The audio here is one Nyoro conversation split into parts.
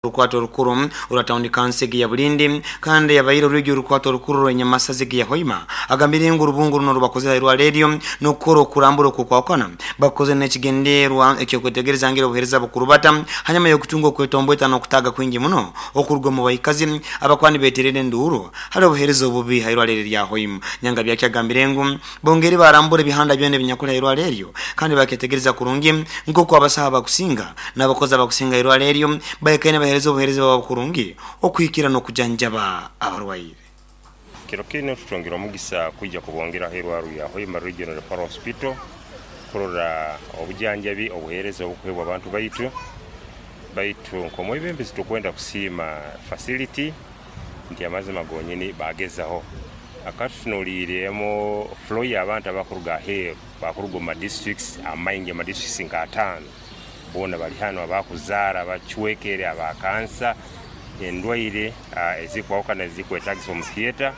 Orukwato orukuru orwa tawuni kanso egi ya Bulindi kandi yabaire orwigi orukwato orukuru rwa Nyamasaza egi ya Hoima agambire ngu orubungo runo orubakozire aha irwarro eryo n'okukora okurambura okw'okwahukana bakukozire n'ekigendererwa eky'okwetegereza ngeri obuheereza bukurubata hanyuma y'okutunga okwetombweta n'okutaaga kwingi muno okuruga omu baikazi abakuba nibeterera enduuru hali obuheereza obubi aha irwarro eri erya Hoima. Nyangabyaki agambire ngu bongeire barambura ebihanda byona ebinyakuli aha irwarro eryo kandi baketegereza kurungi nk'oku abasaho abakusinga n'abakozi abakusinga aha irwarro eryo baikaire nibaheereza obuheereza bwabo kurungi okuhikira n'okujanjaba abarwaire. Kiro kinu tutungire omugisa kwija kubongeraho irwarro lya Hoima Regional Referral Hospital kurora obujanjabi obuheereza obukuheebwa abantu baitu. Baitu nk'omwebembezi tukwenda kusiima facility nti amazima gonyini bagezaho. Akatutunuliiremu flow y'abantu abakuruga aheeru bakuruga omu ma districts amaingi ama districts nka ataano. Boona bali hanu, abakuzaara, abacwekere, aba kansa, endwaire ezikwahukana ezikwetagisa omu theatre.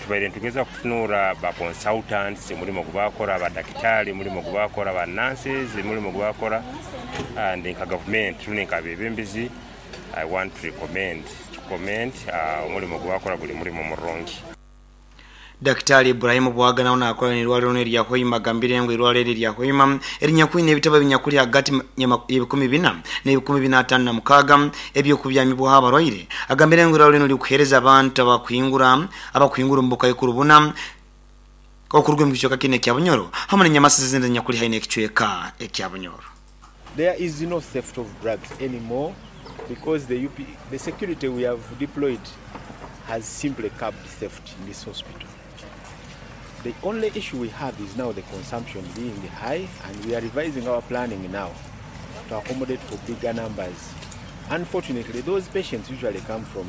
Tubaire nitugezaho kutunuura ba consultants omurimo ogu bakora, ba dakitari omurimo ogu bakora, ba nurses omurimo ogu bakora and nka gavumenti rundi nka abebembezi I want to recommend, to commend omurimo ogu bakora guri murimo murungi. Dakitaali Ibrahim Bwaga nawe naakora n'eirwariro rinu erya Hoima agambire ngu eirwariro eri erya Hoima erinyakwine ebitebe ebinyakuli hagati y'ebikumi bina n'ebikumi bina ataano na mukaaga eby'okubyamibwaho abarwaire. Agambire ngu eirwariro rinu lirikuheereza abantu abakuhingura abakuhingura omu bukaikuru buna okuruga omu kicweka kinu ekya Bunyoro hamu n'enyamasaza ezindi ezinyakuli haihi n'ekicweka ekya Bunyoro. There is no theft of drugs anymore because the UP, the security we have deployed has simply curbed theft in this hospital. The only issue we have is now the consumption being high and we are revising our planning now to accommodate for bigger numbers. Unfortunately, those patients usually come from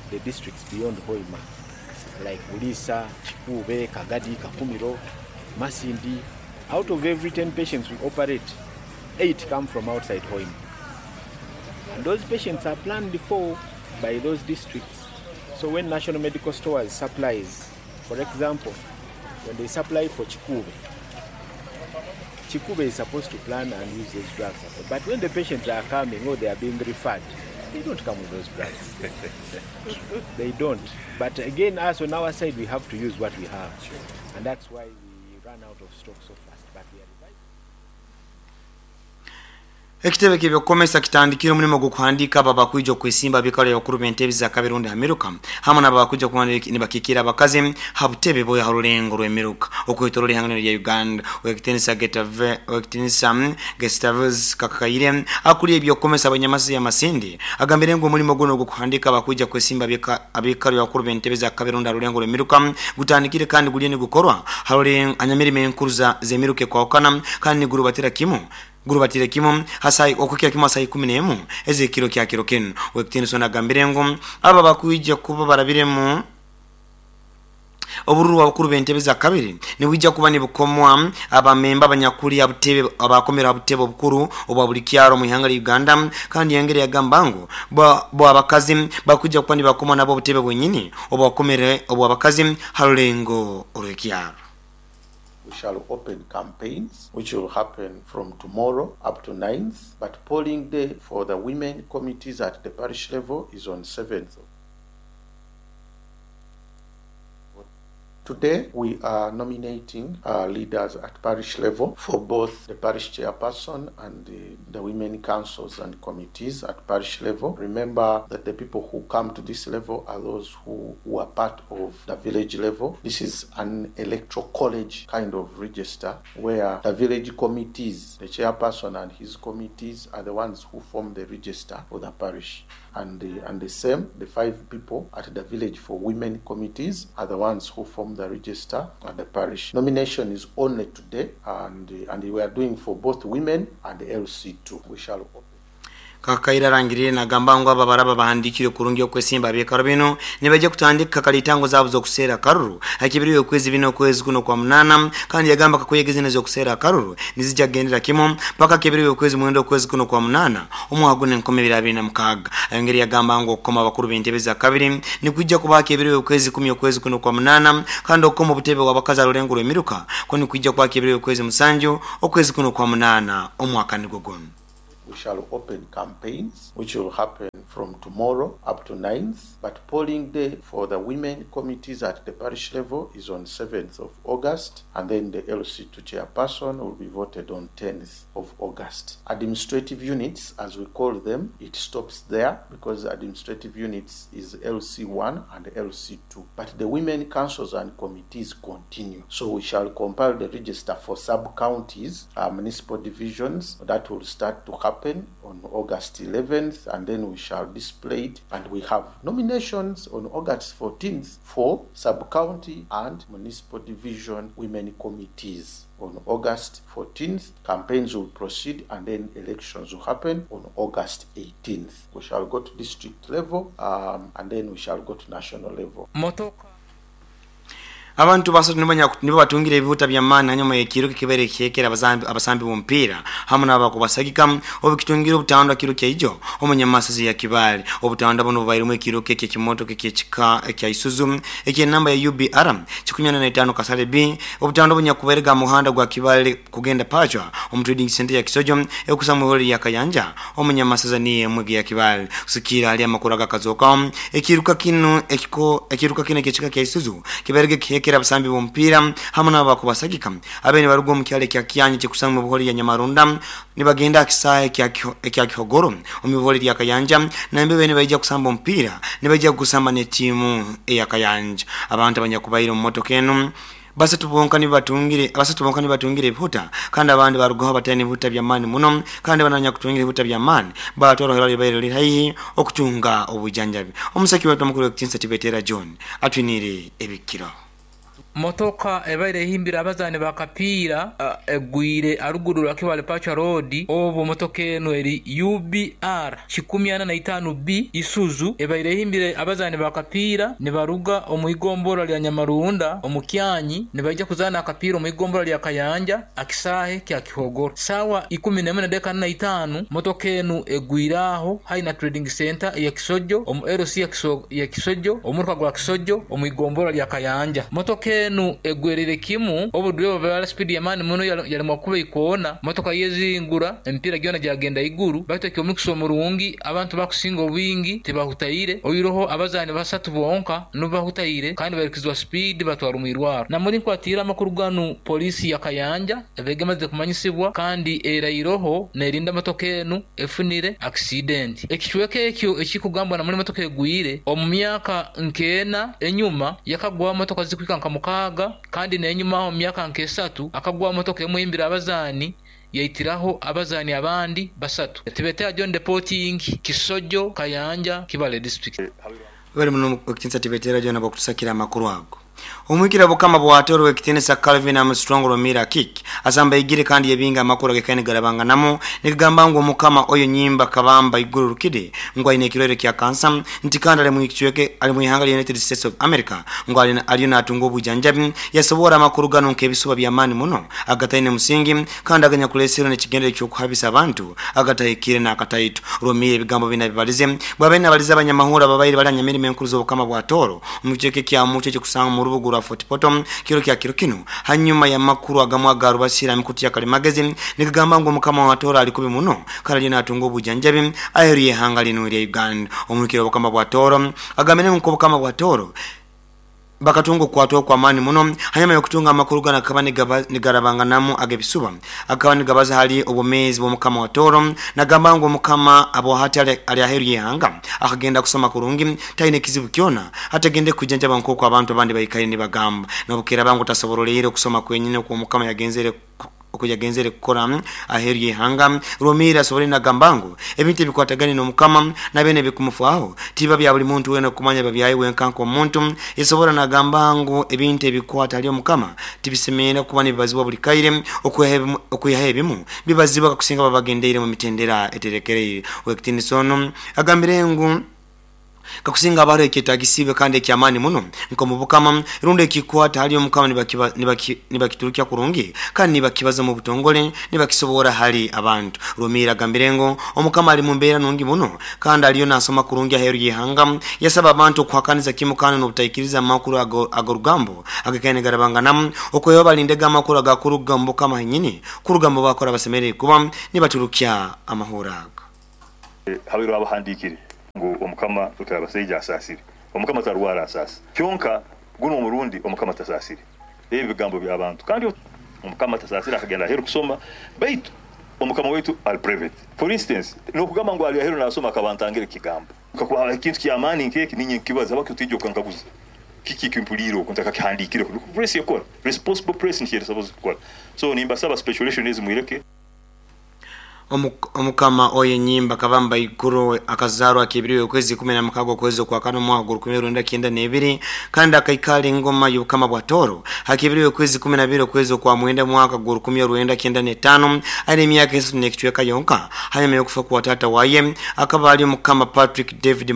the districts beyond Hoima like Buliisa, Kikuube, Kagadi, Kakumiro, Masindi. Out of every 10 patients we operate, 8 come from outside Hoima. And those patients are planned for by those districts. So when National Medical Stores supplies, for example, when they supply for Kikuube, Kikuube is supposed to plan and use those drugs. But when the patients are coming or they are being referred, they don't come with those drugs. They don't. But again, us on our side, we have to use what we have. And that's why we run out of stock so fast. But we are revising. Ekitebe ky'ebyokukomesa kitandikire omulimo gw'okuhandiika abo abakwija okwesimba aha biikaro by'abakuru b'entebe za kabiri rundi ha miruka hamu n'abo abakwija kuba nibakiikirra abakazi ha butebe bwe ha rulengo rw'emiruka okwetoroora ihanga lyona erya Uganda. Owekitinisa Gustavus Kakaire akulira eby'okukomesa abanyamasi ya Masindi agambire ngu omulimo gunu ogw'okuhandiika abakwija kwesimba aha biikaro by'abakuru b'entebe za kabiri rundi ha rulengo rw'emiruka gutandikire kandi guliyo nigukorwa ha nyamirimo enkuru z'emiruka ekwahukana kandi nigurubatira kimu Gurubatire kimu ha saaha okuhikira kimu ha saaha ikumi n'emu ez'ekiro kya kiro kinu. Ow'ekitiinisa onu agambire ngu abo abakwija kuba barabiremu obururu bw'abakuru b'entebe za kabiri nibwija kuba nibukomwa abamemba abanyakuli ha butebe abaakomere ha butebe obukuru obwa buli kyaro omu ihanga lya Uganda kandi yongera yagamba ngu bo abakazi bakwija kuba nibakomwa nabo obutebe bwenyini obwakomere obw'abakazi ha rulengo orw'ekyaro. We shall open campaigns which will happen from tomorrow up to 9th but polling day for the women committees at the parish level is on 7th of Today we are nominating leaders at parish level for both the parish chairperson and the, the women councils and committees at parish level. Remember that the people who come to this level are those who, who are part of the village level. This is an electoral college kind of register where the village committees, the chairperson and his committees are the ones who form the register for the parish. And the, and the same, the five people at the village for women committees are the ones who form the register at the parish. Nomination is only today, and, and we are doing for both women and LC2. We shall open. Kakaire arangiriire nagamba ngu abo abaraba bahandiikirwe kurungi okwesimba aha biikaro binu nibaija kutandika kalitango zaabo z'okuseera akaruru ha kibiri y'okwezi bina okwezi kuno okwa munaana kandi yagamba kakuyege zinu ez'okuseera akaruru nizija kugendera kimu paka kibiri y'okwezi mwenda okwezi kuno okwa munaana omwaka guno enkumi ibiri abiri na mukaaga. Ayongera yagamba ngu okukoma abakuru b'entebe za kabiri nikwija kuba ha kibiri y'okwezi kumi okwezi kuno okwa munaana kandi okukoma obutebe bw'abakazi aha rulengo rw'emiruka kwo nikwija kuba ha kibiri y'okwezi musanju okwezi kuno okwa munaana omwaka nigwo gunu. we shall open campaigns, which will happen from tomorrow up to 9th. But polling day for the women committees at the parish level is on 7th of August, and then the LC2 chairperson will be voted on 10th of August. Administrative units, as we call them, it stops there because administrative units is LC1 and LC2. But the women councils and committees continue. So we shall compile the register for sub-counties, municipal divisions. That will start to happen on August 11th, and then we shall display it. And we have nominations on August 14th for sub-county and municipal division women committees. On August 14th, campaigns will proceed, and then elections will happen on August 18th. We shall go to district level, and then we shall go to national level. Abantu basatu nibo batungire ebihuta bya maani hanyuma y'ekiro kibere kyekera abasambi b'omupiira hamu n'abakubasagika obukitungira obutandwa kiro kyaijo omunyamasazi ya Kibaale. Obutandwa buno bubairemu ekiro ky'ekimotoka eky'ekika ekya Isuzu eky'enamba ya UBR 45 Kasale B. Obutandwa bunyakubairega muhanda gwa Kibaale kugenda Pachwa omu trading center ya Kisojo ekusa mu holi ya Kayanja omunyamasazi niye mwegi ya Kibaale. Kusikira ali amakuru agakazoka ekiruka kino eky'ekika kya Isuzu kibairege kyekera abasambi b'omupiira hamu n'abakubasagika abene baruga omu kyalo ekya Kyanyi kyekusanga mu buholi ya Nyamarunda nibagenda akisaaye ekya Kihogoro omu buholi lya Kayanja, nambe bene baija kusamba omupiira nibaija kusamba n'etiimu eya Kayanja. Abantu abanyakubaire omu motoka eno basatu bonka nibatungire ebihuta kandi abandi barugaho batayine ebihuta by'amaani muno, kandi bananya kutungira ebihuta by'amaani batwara libaire liri haihi okutunga obujanjabi. Omusaki wetu omukuru w'ekitinisa Tibetera John atwinire ebikiro. Motoka ebaire ehimbira abazaani bakapiira egwire aruguru lwa Kibaale Pachwa Road. Obwo motoka eno eri UBR 145B Isuzu ebaire ehimbire abazaani bakapiira nibaruga omu igombora lya Nyamarunda omu Kyanyi nibaija kuzaana akapiira omu igombora lya Kayanja akisaahe kya Kihogoro. Sawa 11:45 motoka eno egwire aho haina trading center ya Kisojo omu LC ya Kisojo omuruka gwa Kisojo omu igombora lya Kayanja. Motoka eno egwerere kimu obudwe bwa speed ya mani muno yalimwa kuba ikoona motoka yezingura empira gyona gyagenda iguru baitu ekyomukisa omurungi abantu bakusinga obwingi tibahutaire oyiroho abazaani basatu bonka nubahutaire kandi barikizwa speed batwara omwirwaro. Namuri nkwatira amakuru ganu polisi ya Kayanja ebegemaze kumanyisibwa kandi erairoho nerinda motoka enu efunire accident. Ekicweka ekyo ekikugambwa namuri motoka egwire omu myaka nkeena enyuma yakagwa motoka zikwika nka mukaaga kandi nenyuma omu myaka nk'esatu akagwa motoka emwimbira abazaani yaitiraho abazaani abandi basatu. Tibetera John Deporting, Kisojo, Kayanja, Kibaale district. Bali muno ekitinisa Tibetera John abakutusakira amakuru ago. Omwikira bukama bwatoro w'ekitinisa Calvin Armstrong Romira Kik asamba igire kandi yebinga amakuru agekaine garabanga namo nikigamba ngu omukama oyo nyimba kabamba iguru rukide ngu aine ekirwaire kya kansa nti kandi ali mu ali mu ihanga lya United States of America ngu aliyo natunga obujanjabi. Yasobora amakuru gano nk'ebisuba by'amaani muno agataine musingi kandi aganyakulesero n'ekigendere ky'okuhabisa abantu agatahikire n'akataito. Romira ebigambo bina bibalize bwabene abalize abanyamahura babaire bali anyamirimo enkuru z'obukama bwa Toro omu kicweka kya Mucho ekikusanga mu rubuga rwa Fort Portal kiro kya kiro kino hanyuma ya makuru agamwe agarubasira mikuti ya kalimagezi nikigamba ngu omukama wa Toro alikubi muno kandi natunga obujanjabi aheru y'ihanga lino lya Uganda. Omukiro obukama bwa Toro agamene nko obukama bwa Toro bakatunga okukwatwa kwa maani muno hanyuma y'okutunga amakuru gana akaba nigarabanganamu agebisuba akaba nigabaza hali obwomezi bw'omukama wa Toro nagamba ngu omukama abohati ali aheru y'ihanga akagenda kusoma kurungi taine kizibu kyona atagende kujanjaba nk'oku abantu abandi baikaire nibagamba nobukira bangu tasoboroleire okusoma kwenyine okw'omukama yagenzere okuyagenzere kukora aheru y'ihanga. Romira asobole nagamba ngu ebintu ebikwatagane n'omukama nabene bikumufaaho tiba bya buli muntu wena okumanya babyaye wenka nk'omuntu. Yasobora nagamba ngu ebintu ebikwata ali omukama tibisemeera kuba nibibazibwa buli kaire okwihaho ebimu bibazibwa kakusinga babagendeire mu mitendera eterekereire. Wekitiinisa ono agambire ngu Kakusinga haba haroho ekyetagisiibwe kandi eky'amaani muno nk'omu Bukama rundi ekikwata hali Omukama nibakiturukya kurungi kandi nibakibaza omu butongole nibakisoborra hali abantu. Rwomiire agambire ngu Omukama ali mu mbeera nungi muno kandi aliyo nasoma kurungi aheeru y'ihanga. Yasaba abantu okuhakaniza kimu kandi n'obutaikiriza amakuru ag'orugambo agakaire nigarabanganamu okwihaho balindege amakuru agakuruga omu Bukama henyini kuruga omu bakora abasemeriire kuba nibaturukya amahurre aga. Habaireho abahandiikire ngu Omukama Rukirabasaija asaasire. Omukama tarwara asaasa. Kyonka gunu omurundi Omukama tasaasire. Ebi bigambo by'abantu. Kandi Omukama tasaasire akagenda aheeru kusoma baitu Omukama waitu ali private. For instance, n'okugamba ngu ali aheeru naasoma akaba antangire kigambo. Kakuba habaho ekintu ky'amaani nk'eki ninye nkibaza habwaki otaija okankaguza kiki eki mpuliire oku ntakakihandiikireho. Nikwo press ekora. Responsible press nikyo eri supposed kukora. So nimbasaba speculation ezi mwireke. Omukama Oyenyimba Kabamba Iguru akazarwa akibiri okwezi 16 okwezi okwakana omwaka gwa 1992 kandi akaikara engoma y'Obukama bwa Toro hakibiri okwezi 12 okwezi okwa mwenda mwaka gwa 1995 aine emyaka esatu n'ekicweka yonka. Hanyuma y'okufa kwa tata waye akaba ali Omukama Patrick David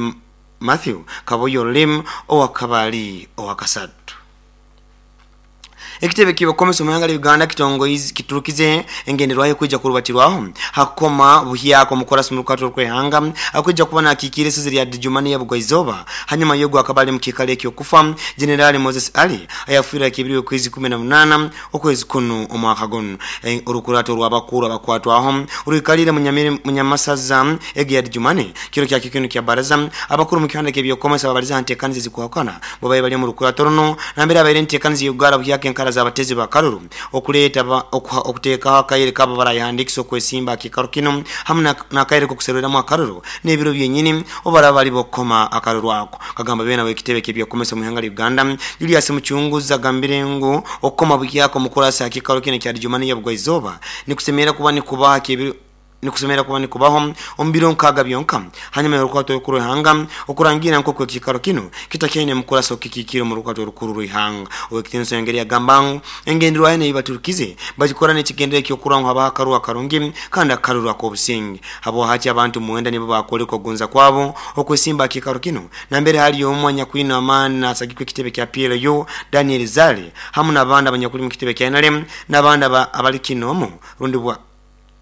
Matthew Kaboyo Lim owakaba ali owakasatu. Ekitebe ky'obukomesa omu ihanga lya Uganda kiturukize engenderwaho ekwija kurubatirwaho hakukoma buhyaka omukurasi mu rukato rw'ihanga akwija kuba nakiikira esozi lya Dijumani ya Bugwaizoba hanyuma y'ogwo akaba ali mu kiikaro eky'okufa Generali Moses Ali ayafiire akibiri okwezi 18 okwezi kunu omwaka gunu. Orukurato rw'abakuru abakwatwaho rwikalire munyamasaza egi ya Dijumani kiro kya kikinu kya baraza abakuru mu kihanda ky'ebyokomesa babaliza ntekanizi zikuhakana babaye bali mu rukurato runo nambere abaire ntekanizi y'ugara buhyaka enkara z'abatezi ba karuru okuleeta okuteekaho akaire kabo barayihandikisa okwesimba akikaro kino hamu n'akaire k'okuserweramu akaruru n'ebiro byenyini obaraba bali bokukoma akaruru ako. Kagamba beena w'ekitebe ky'ebyokomesa omu ihanga lya Uganda Julius Muchunguzi agambire ngu okukoma buhyaka omukurasi akikaro kino ekya Dijumani ya Bugwaizoba nikusemerera kuba nikubaho nikusemera kuba nikubaho omu biro nkaaga byonka hanyuma y'orukwato orukuru rw'ihanga okurangira nk'oku ekikaro kino kitakyaine mukurasi okukikiikira omu rukwato orukuru rw'ihanga. Ow'ekitiinisa yongeri yagamba ngu engenderwaho enu ei baturukize bagikora n'ekigendero eky'okurora ngu habaho akaruru akarungi kandi akaruru ak'obusinge. Habwahati abantu 9 nibo bakwoleka okugonza kwabo okwesimba aha kiikaro kino nambere hali omwe anyakwine amaani nasagikwa ekitebe kya PLU Daniel Zale hamu n'abandi abanyakuli mu kitebe kya NRM n'abandi abali kinomu rundi bwa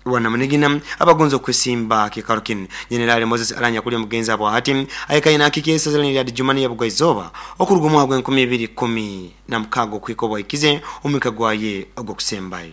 Rwanamunigina abagonza okwesimba kiikaro kinu. Jenerali Moses Alanya kuli omugenzi habwahati aikaire nakiikira esaza lya Dijumani ya Bugwaizoba okuruga omwaka gwa 2016 okuhika obwahikize omwika gwaye ogw'okusembayo.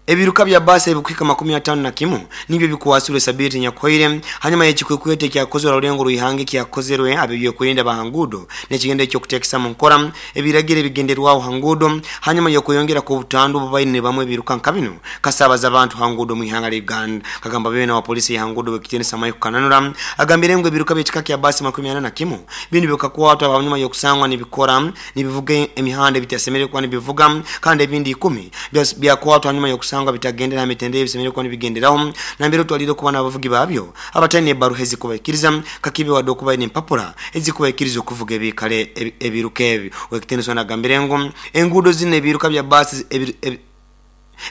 Ebiruka bya baasi ebikuhika 51 nibyo bikwasirwe sabiiti enyakuhoire hanyuma y'ekikwekweto ekyakozerwe aha rulengo rw'ihanga ekyakozerwe ab'ebyokwerinda ba hanguudo n'ekigendo eky'okuteekesa mu nkora ebiragiro ebigenderwaho hanguudo hanyuma y'okweyongera kw'obutandu obubaire nibamwe ebiruka nka bino kasaabaza abantu hanguudo omu ihanga lya Uganda. Kagamba beena wa polisi y'ahanguudo w'ekitiinisa Michael Kananura agambire ngu ebiruka by'ekika kya baasi 41 binu bikakwatwa hanyuma y'okusangwa nibikora nibivuga emihanda ebitasemerire kuba nibivuga kandi ebindi 10 byakwatwa hanyuma y'okusangwa bitagendera aha mitendera ebisemerire kuba nibigenderaho nambere otwalire kuba n'abavugi babyo abataine ebaruha ezikubaikiriza kakibe wadde okuba n'empapura ezikubaikiriza okuvuga ebikare ebiruka ebi. Owekitiinisa nagambire ngu enguudo zino ebiruka bya baasi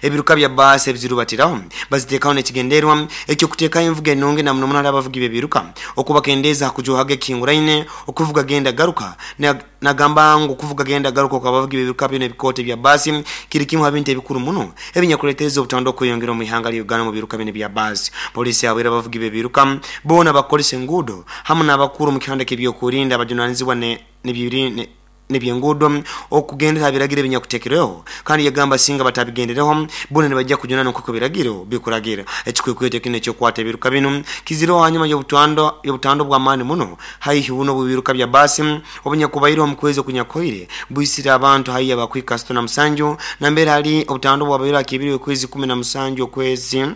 ebiruka bya baasi ebizirubatiraho baziteekaho n'ekigendererwa eky'okuteekaho envuga enungi na muno muno hali abavugi b'ebiruka okubakendeeza aha kujuhaga ekihinguraine okuvuga genda garuka. Nagamba ngu okuvuga genda garuka okw'abavugi b'ebiruka binu ebikooto ebya baasi kiri kimu ha bintu ebikuru muno ebinyakuleetereza obutando okweyongera omu ihanga lya Uganda omu biruka binu ebya baasi. Poliisi yahabwire abavugi b'ebiruka boona abakukozesa enguudo hamu n'abakuru omu kihanda ky'ebyokwerinda abajunanizibwa n'ebyenguudo okugendera aha biragiro ebinyakuteekerweho kandi yagamba singa batabigendereho boona nibajja kujunanwa nk'oku ebiragiro bikuragira. Ekikwekweto kinu ekyokukwata ebiruka binu kizireho hanyuma y'obutando bw'amaani muno haihi buno bw'ebiruka bya baasi obunyakubaireho omu kwezi okunyakuhoire bwisire abantu haihi abakuhika 67 nambere hali obutando bwabaire akibiri okwezi 17 okwezi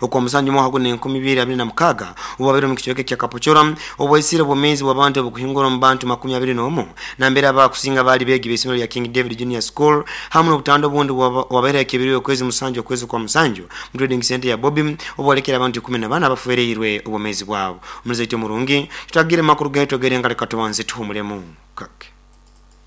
okwa musanju mwaka guno 2026 obwabaire omu kicweka ekya Kapochora obwaisire obwomeezi bw'abantu obukuhingura omu bantu 21 nambere abakusinga baali beegi b'isomero lya King David Junior School hamu n'obutando obundi bwabaire akibiri okwezi musanju okwezi kwa musanju mu trading center ya Bobby obwalekera abantu 14 abafereirwe obwomeezi bwabo. Omuzaiti omurungi tutagire makuru gaitu agere nga leka tubanze tuhumulemu kake.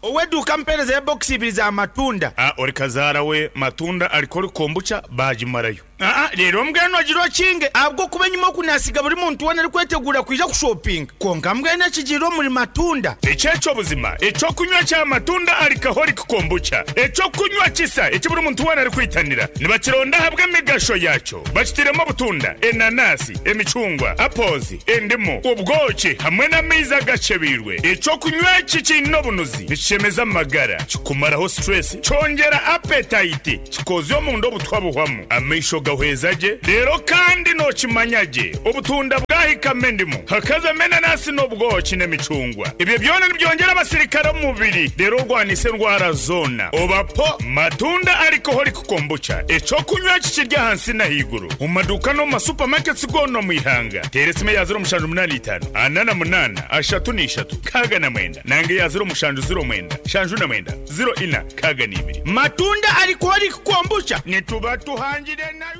Ow'eduuka mpeereza ya bokisi ibiri za matunda. A Ori kazaara we matunda alikora kombucha baagimarayo. Aa reero mbwenu ogire okinge ahabw'okuba enyima oku naasiga buri muntu weena arikweteguura kwija kushopinga. Kwonka mbwenu ekigiire omuri Matunda. Eki eky'obuzima, eky'okunywa kya Matunda Alcoholic Kombucha, eky'okunywa kisa eki buri muntu weena arikwitanira. Nibakironda ahabw'emigasho yaakyo. Bakitairemu obutunda, enanasi, emicungwa, apples, endimu, obwoki hamwe n'amaizi agakyebeirwe. Eky'okunywa eki kiine obunuzi, nikishemeza amagara, kikumaraho stress, kyongyera appetite, Kikoozya omunda obutwa buhwamu, amaisho gahweza gye, reero kandi nookimanya gye obutunda bwahikamu endimu, hakazamu enanasi n'obwoki n'emicungwa. Ebyo byona nibyongyera abasirikare omu mubiri reero orwanise endwara zoona. Oba po Matunda Alcoholic Kombucha, eky'okunywa eki kiri ahansi n'ahaiguru omu maduuka n'omu ma supermarkets goona omu ihanga. Teera esimu eya 0785 48 33 69 nanga eya 0709 79 04 62. Matunda Alcoholic Kombucha nituba tuhangire nayo.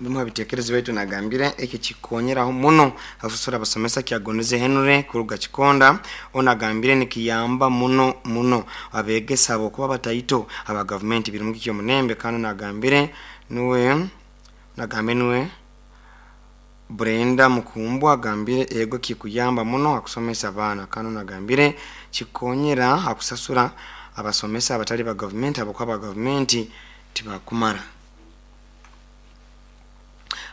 Bimu ha bitekerezo byaitu nagambire eki kikonyeraho muno akusasura abasomesa Kyagonize Henry kuruga Kikonda onu agambire nikiyamba muno muno abegesa habwokuba bataito aba gavumenti biri mukiki omunembe. Kandi onu agambire nuwe nagambire nuwe Brenda Mukumbwa agambire ego kikuyamba muno akusomesa abaana. Kandi onu agambire kikonyera akusasura abasomesa abatali ba gavumenti habwokuba aba gavumenti tibakumara.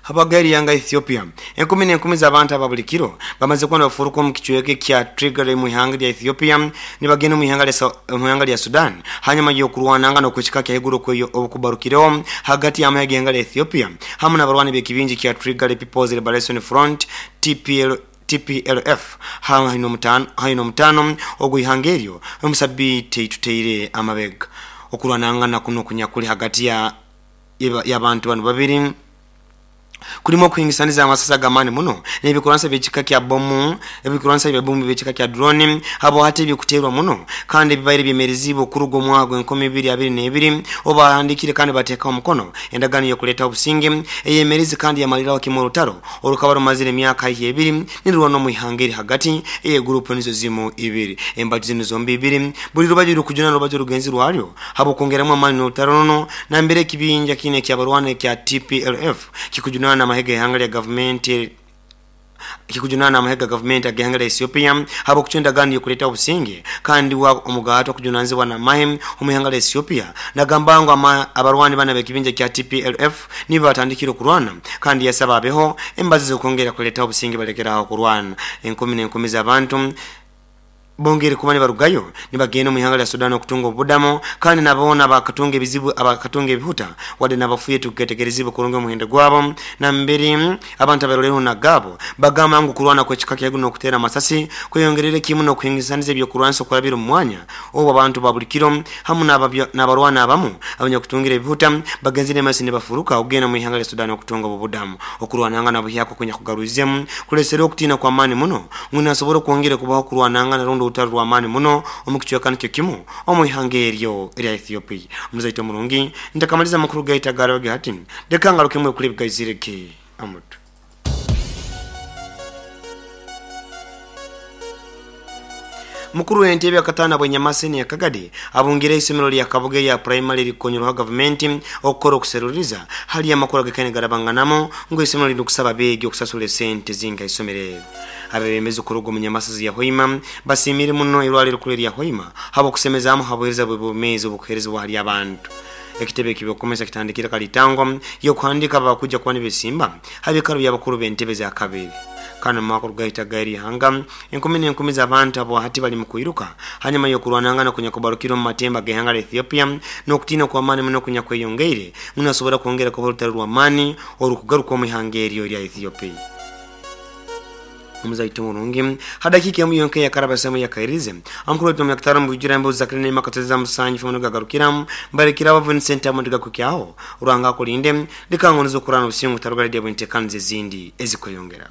Habwagari yanga Ethiopia, enkumi n'enkumi z'abantu aba buli kiro bamaze kuba nibafuruka omu kicweka kya Tigray mu ihanga lya Ethiopia nibagenda omu ihanga lya Sudan hanyuma y'okurwananga n'okwekika kya higuru obukubarukireho hagati y'amahe g'ihanga lya Ethiopia hamwe n'abarwani b'ekibingi kya Tigray People's Liberation Front TPLF haino omutaano ogw'ihanga eryo omusabiiti eituteire amabega. Okurwanangana kuno kunyakuli hagati y'abantu banu babiri kulimu okuhingisaniza amasasi ag'amaani muno n'ebikuransa by'ekika kya bomu, ebikuransa bya bomu by'ekika kya drone habo hati ebikuteerwa muno kandi ebibaire byemerezibwe okuruga omwaka gw'enkumi ibiri abiri n'ebiri obahandikire kandi bateekaho omukono endagaano y'okuleetaho obusinge eyemerezi kandi yamaliraho kimwe orutaro orukaba rumazire emyaka haihi ebiri nirurwana omu ihanga eri hagati ey'egurupu nizo zimu ibiri. Embaju zinu zombi ibiri buri rubaju rukujuna rubaju rugenzi rwaryo habw'okwongeramu amaani n'orutaro runo nambere ekibinja kine ekyabarwana ekya TPLF kikujunana n'amahega ihanga lya gavumenti kikujunana n'amahega gavumenti ag'ihanga lya Ethiopia habw'okucwa endagaano y'okuleeta obusinge kandi wa omugato okujunanizibwa n'amahe omu ihanga lya Ethiopia. Nagamba ngu abarwani bana b'ekibinja kya TPLF nibo batandikire okurwana kandi yasaba abeho embazi z'okwongera kuleeta obusinge balekeraho okurwana. Enkumi n'enkumi z'abantu bongere kuba nibarugayo nibagenda omu ihanga lya Sudan okutunga obudamo kandi nabona abakatunga ebizibu abakatunga ebihuta wadde nabafuye tuketegerezibwe kurungi omuhendo gwabo. Nambere abantu abaroleho nagabo bagamba ngu kurwana kwekika kya guno okutera amasasi kweyongerere kimu n'okuhingisaniza ebyokurwanisa okurabira omu mwanya obu abantu ba buli kiro hamu n'abarwana abamu abanyakutungira ebihuta bagenzire masi nibafuruka okugenda mu ihanga lya Sudan okutunga obubudamu. Okurwananga nabuhyako kunya kugaruzemu kulesera okutiina kwa maani muno ngu nasobora okwongera kubaho kurwananga narundi orutaro rw'amaani muno omu kicweka nikyo kimu omu ihanga eryo erya Ethiopia. Omuzaito murungi ntakamaliza amakuru gaita garabage hati leka ngarukemu ekuri bigaizireke amutu. Mukuru w'entebe akatana bwenyamase ni Kagadi abungire isomero lya Kabuge lya primary likonyerwa gavumenti okukora okuseruriza hali amakuru agakene garabanganamo ngo isomero liri kusaba begi okusasula sente zinga isomero. Abebembezi kuruga mu Nyamasazi ya Hoima basimire muno irwaliro kule lya Hoima habo kusemezamu habuhereza bwebumezi obukuherezibwa hali abantu. Ekitebe kibyokomesa kitandikira kalitango yokuhandika abakuja kuba nibesimba habikaro by'abakuru b'entebe za kabiri. Kana mwaka rugaita gairi hanga enkumi n'enkumi z'abantu abo hati bali mu kwiruka hanyuma y'okurwanangana kunyakubarukira omu matemba g'ihanga lya Ethiopia n'okutiina kw'amaani muno kunyakweyongeire munasobora kwongera kuba orutaro rw'amaani orukugaruka omu ihanga eryo erya Ethiopia. Omuzaito murungi hadakika emu yonka yakarabasemu yakairize amukuru wetu myakatano mubijura embuzi za kirine makateza musanyi fumu gagarukiramu mbarekira abo Vincent amundiga kukyaho uranga kulinde likangonezo kurana obusingu tarugala bwentekanze zindi ezikweyongera.